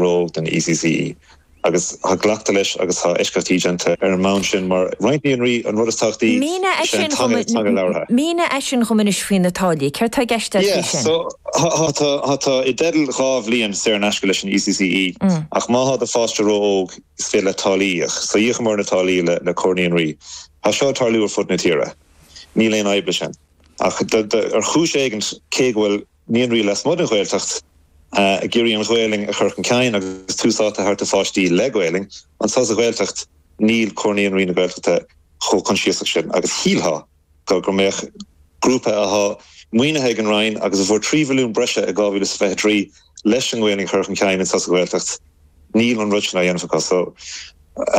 ró-óg don ECCE. Agus tá glactha leis agus tá eisceachtaí déanta ar an mbonn sin mar roinnt naíonraí an rud is tábhachtaí Mínigh is ea an teanga, teanga labhartha. Mínigh é sin dhom anois faoi na táillí. Céard tá i gceist agat Yeah, faoi sin? so tá tú i dteideal 2 bhliain saor in aisce leis an ECCE ach má thá do pháiste ró-óg is féidir leat táillí a íoc. So íocamar na táillí le le Comhar Naíonraí. Tá seo ag tarlú ar fud na tíre. Níl aon fhadhb leis sin. Ach ar chúis éigint cé go bhfuil naíonraí lasmuigh den Ghaeltacht ag iarraidh an Ghaelainn a chur chun cinn agus tús áite a thabhairt do pháistí le Gaelainn. Anseo sa Ghaeltacht níl Comhar Naíonraí na Gaeltachta chomh coinsiasach sin agus shílfeá go go mbeadh grúpa athá maoinithe ag an Roinn agus a fuair 3 mhilliún breise i 2023 leis an nGaelainn a chur chun cinn anseo sa Ghaeltacht, níl an rud sin á dhéanamh acu. So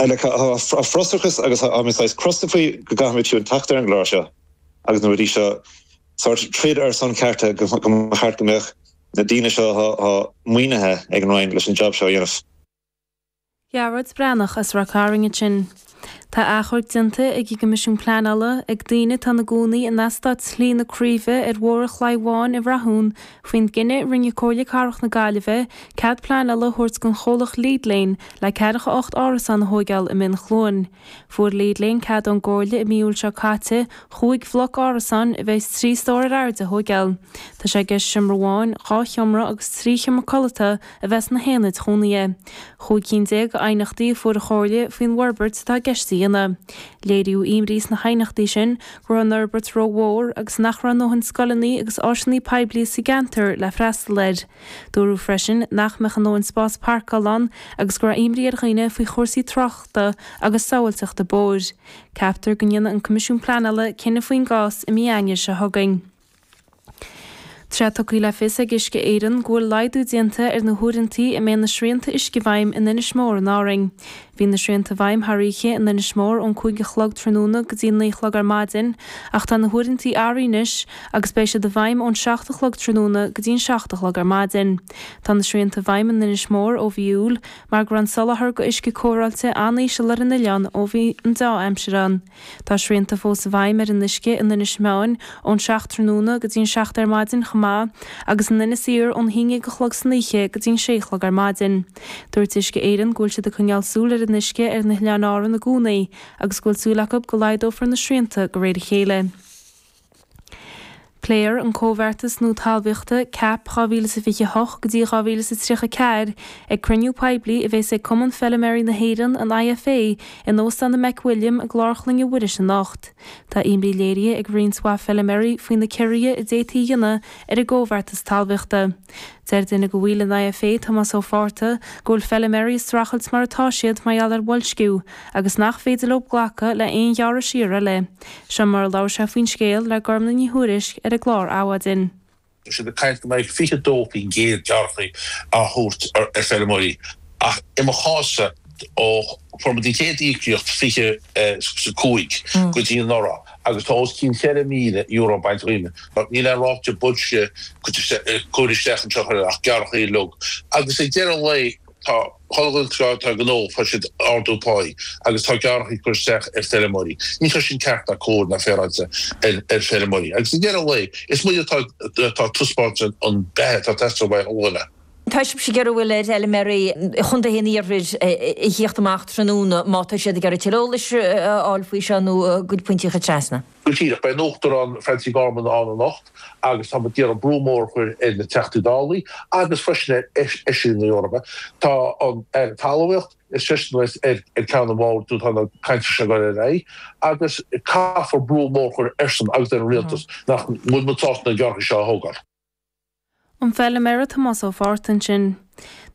like tá frustrachas agus tá mé saghas crosta faoi go gcaithfimid fiú teacht ar an gclár seo agus na rudaí seo. sórt troid ar son cearta go mba cheart go mbeadh na daoine seo athá maoinithe ag an Roinn leis an jab seo a dhéanamh. Gearóid Breathnach as Ráth Cairn ansin. Tá achomharc déanta ag an gCoimisiún Pleanála ag daoine atá ina gcónaí in eastát Shlí na Craoibhe ar Bhóthar an Chlaí Bháin i Rathún faoin gcinneadh a rinne Comhairle Cathrach na Gaillimhe cead pleanála a thabhairt don chomhlacht Lead Lane le 48 árasán a thóigeáil i mBinn Chluain. Fuair Lead Lane cead ón gComhairle i mí Iúil seo caite chúig bhloc árasáin a bheas 3 stór ar airde a thóigeáil. Tá sé i gceist seomra amháin, 2 sheomra agus 3 sheomra codlata a bheith sna haonaid chónaithe. 15 cinn d'aighneachtaí a fuair an Chomhairle faoin bhforbairt atá i gceist a dhéanamh. Léiríodh imní sna haighneachtaí sin go raibh an fhorbairt rómhór agus nach raibh a ndóthain scoileanna agus áiseanna poiblí sa gceantar le freastal air. Dúradh freisin nach mbeadh a ndóthain spás páirceála ann agus go raibh imní ar dhaoine faoi chúrsaí tráchta agus sábháilteachta bóthair. Ceaptar go ndéanfaidh an Coimisiún Pleanála cinneadh faoin gcás i mí Eanáir seo chugainn. Tá sé tugtha le fios ag Uisce Éireann go bhfuil laghdú déanta ar na huaireantaí a mbeidh na srianta uisce i bhfeidhm in Inis Mór in Árainn. Bhí na srianta i bhfeidhm thar oíche in Inis Mór ón 5 a chlog tráthnóna go dtí 9 a chlog ar maidin ach tá na huaireantaí athraithe anois agus beidh siad i bhfeidhm ón 7 a chlog tráthnóna go dtí an 7 a chlog ar maidin. Tá na srianta i bhfeidhm in Inis Mór ó mhí Iúil mar go raibh an soláthar go uisce cóireáilte an-íseal ar an oileán ó bhí an deá-aimsir ann. Tá srianta fós i bhfeidhm ar an uisce in Inis Meáin ón 7 tráthnóna go dtí an 7 ar maidin chomh maith agus in Inis Oírr ón 11 a chlog san oíche go dtí an 6 a chlog ar maidin. Dúirt Uisce Éireann go bhfuil siad ag coinneáil súil ar an uisce ar na hOileáin Árann i gcónaí agus go bhfuil súil acu go laghdófar na srianta de réir a chéile. Pléifear an Comhbheartas Nua Talmhaíochta, cap, 2028 go dtí 2034 ag cruinniú poiblí a bheas ag Cumann Feiliméaraí na hÉireann, an IFA, in Óstán an McWilliam i gClár Chloinne Mhuiris anocht. Tá imní léirithe ag roinnt mhaith feiliméaraí faoi na ciorruithe a d'fhéadfaí a dhéanamh ar an gcomhbheartas talmhaíochta. Deir duine de bhaill an IFA, Tomás Ó Fátharta, go bhfuil feiliméaraí ag streachailt mar atá siad mar gheall ar bhoilsciú agus nach féidir leo glacadh le haon ghearradh siar eile. Seo mar a labhair sé faoin scéal le Gormlaith Ní Thuairisg ar an gclár Adhmhaidin. Tá siad ag caint go mbeidh 22% gearrthacha á thabhairt ar feirmeoirí ach i mo chás-sa ó fuair muid an chéad íocaíocht 25 go dtí anuraidh agus tá os cionn €4,000 bainte dhíom. Níl aon ráta boilscithe curtha isteach anseo ach gearrthacha uilig agus ag deireadh an lae tá chuile dhuine atá ag gnó fuair siad ardú páí agus tá gearrthacha curtha isteach ar feirmeoirí. Níl sé sin ceart ná cóir ná féaráilte ar feirmeoirí agus ag deireadh an lae is muid atá ag taispeáint an beatha atá ag teastáil uaidh chuile dhuine. Tá sibhse ag iarraidh bhfuil ar fheilméaraí chontaetha an iarthair a thíocht amach tráthnóna má tá siad ag iarraidh tuilleadh eolais a fháil faoi seo nó a gcuid pointí a chur trasna. Go díreach. Beidh an Uachtarán Francie Gorman ann anocht agus tá muid ag iarraidh brú mór a chur ar na Teachtaí Dálaí agus freisin ar Fheisirí na hEorpa. Tá an Aire Talmhaíochta, is seisean a bheas ar ceann an bhoird nuair atá na cainteanna seo ag dul ar aghaidh agus caithfear brú mór a chur airsean agus ar an Rialtas nach bhfuil muid sásta na gearrthacha seo a thógáil. An feilméara Tomás Ó Fátharta ansin.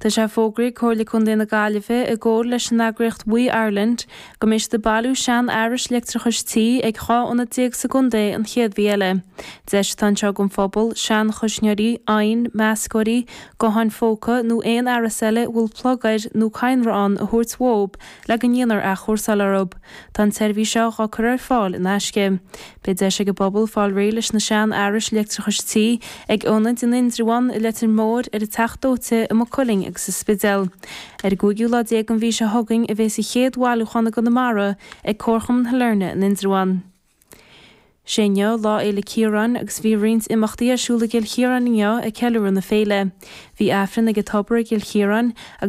Tá sé fógraithe ag Comhairle Contae na Gaillimhe i gcomhar leis an eagraíocht We Ireland go mbeidh siad ag bailiú seanfhearais leictreachais tí ag 12 ionad sa gcontae an chéad mhí eile. Deis atá anseo don phobal seanchuisneoirí, oighinn, meascóirí, gutháin phóca nó aon fhearas eile a bhfuil plug air nó cadhnra ann a thabhairt uathub le go ndéanfar athchúrsáil orthu. Tá an tseirbhís seo dhá cur ar fáil in aisce. Beidh deis ag an bpobal fáil réidh leis na seanfhearais leictreachais tí ag ionaid in Indreabhán, i Leitir Móir, ar an Teach Dóite, i Maigh Cuilinn agus sa Spidéal. Ar an gcúigiú lá déag den mhí seo chugainn a bheas an chéad bhailiúchán i gConamara ag Comharchumann Shailearna in Indreabhán. Sé inniu Lá Fhéile Ciaráin agus bhí roinnt imeachtaí ar siúl i gCill Chiaráin inniu ag ceiliúradh na féile. Bhí Aifreann ag an tobar i gCill Chiaráin agus.